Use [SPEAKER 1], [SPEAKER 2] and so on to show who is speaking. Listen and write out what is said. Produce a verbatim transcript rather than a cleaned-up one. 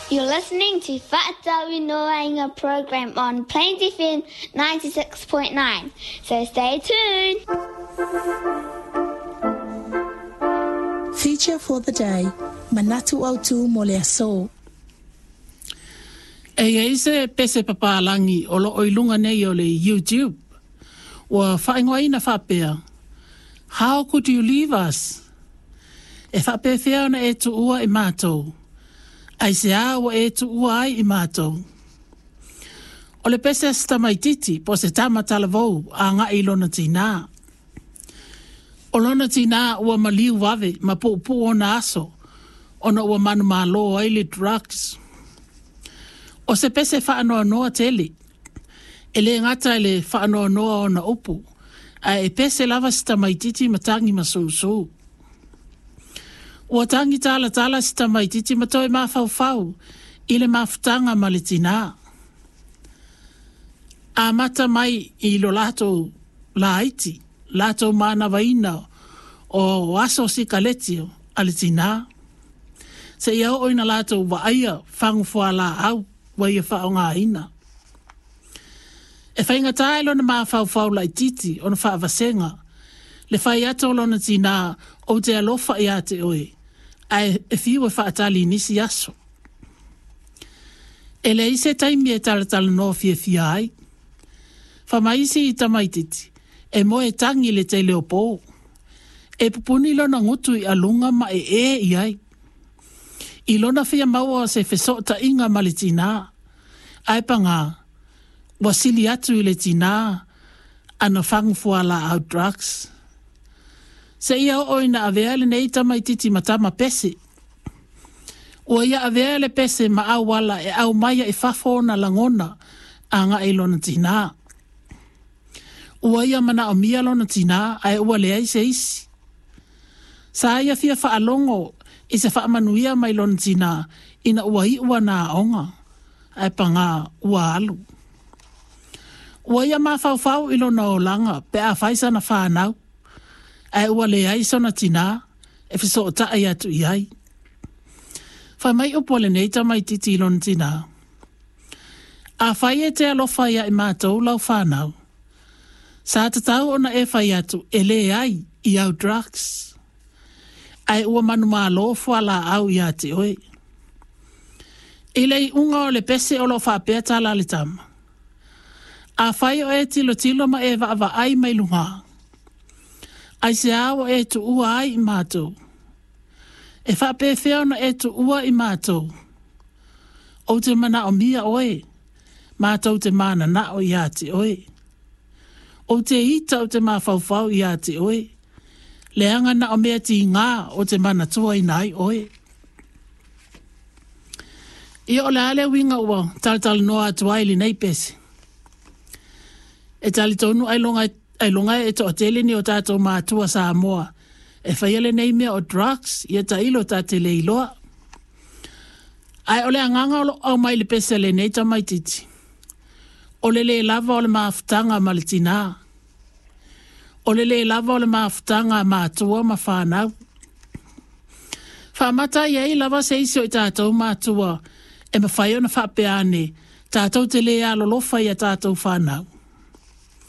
[SPEAKER 1] You're listening to Fa'atauinoaina program on Plains F M ninety-six point nine. So stay tuned.
[SPEAKER 2] Feature for the day, Manatu Autu mo le aso.
[SPEAKER 3] E iai se pese papalangi o loo i lunga nei o le YouTube. Ua whaingoaina whapea, How could you leave us? E whapewhea ona e tuua i mātou. Ai se a ua e tuua ai i mātou. O le pese stamaititi po se tama talavou a ngai lona tina. O lona tina ua maliu wave ma puupu ona aso, ona ua manu malo ai le drugs. O se pese whaanoa tele, e le ngata le whaanoa ona upu, a e pese lava stamaititi matangi masusu. Ua tangi tala tala stamaititi matoe mawhauwhau i le mafutanga ma le tina. A mata mai i lo lato laiti, lato manawaina o aso sikaleti a le tina. Se ia o ina lato waaia whangufua la au wa ia whaonga ina. E whainga tae lona mawhauwhau laititi ona whaavasenga, le whai ato lona tina o te alofa ia te oe, ae e fiu e whaatali nisi aso. E le ise taimi e talatala no fia fia ai. Whamaisi i tamaititi, e moe tangi le te leo pō. E pupuni lona ngutu i alunga ma e e i ai. I lona fia maua se fesota inga ma le tina. Ae panga, wasili atu i le tina, ana whangufua la au drugs. Se ia o ina avea le nei tamaititi matama pese. Ua ia avea le pese ma au wala e au maia i fafo ona langona a ngai lona tina. Ua ia mana o mia lona tina ae ua leai se isi. Sa ia fia whaalongo i se whaamanuia mai lona tina ina ua i ua nā onga ae panga ua alu. Ua ia mawhauwhau i lona olanga pe a whaisana whanau ae ua leai sona tina e whiso o tae atu i ai. Whai mai upo le nei tamaititi i lona tina. A whai e te alofa ia i mātou lau whanau. Sa tatau ona e whai atu e le ai i au drugs. Ae ua manu malo fua la au ia te oe. I lei unga o le pese o lo whapea tala le tama. A whai o e tilo tilo ma e vaawa ai mai lunga. Ai se awa e tu ua ai i mātou. E whapewhea ona e tu ua i mātou. O te mana o mia oe, mātou te mana nao ia te oe. O te ita o te mawhauwhau ia te oe. Leanga na o mea ti ngā o te mana tua inai oe. Ia o le ale winga ua talatala noa atu ai li nei pese. E tali tonu ai longa, ai longa e to tele ni o tātou mātua Samoa. E whaia le nei mea o drugs ia ta ilo tā te leiloa. Ai o le anganga o lo au mai le pese le nei tamaititi. O le le lava o le mafutanga ma le tina. O le le lava o le mafutanga mātua ma whanau. Whamata ia i lava se isi o i tātou mātua e mawhai ona whapeane tātou te le alolofa ia tātou whanau.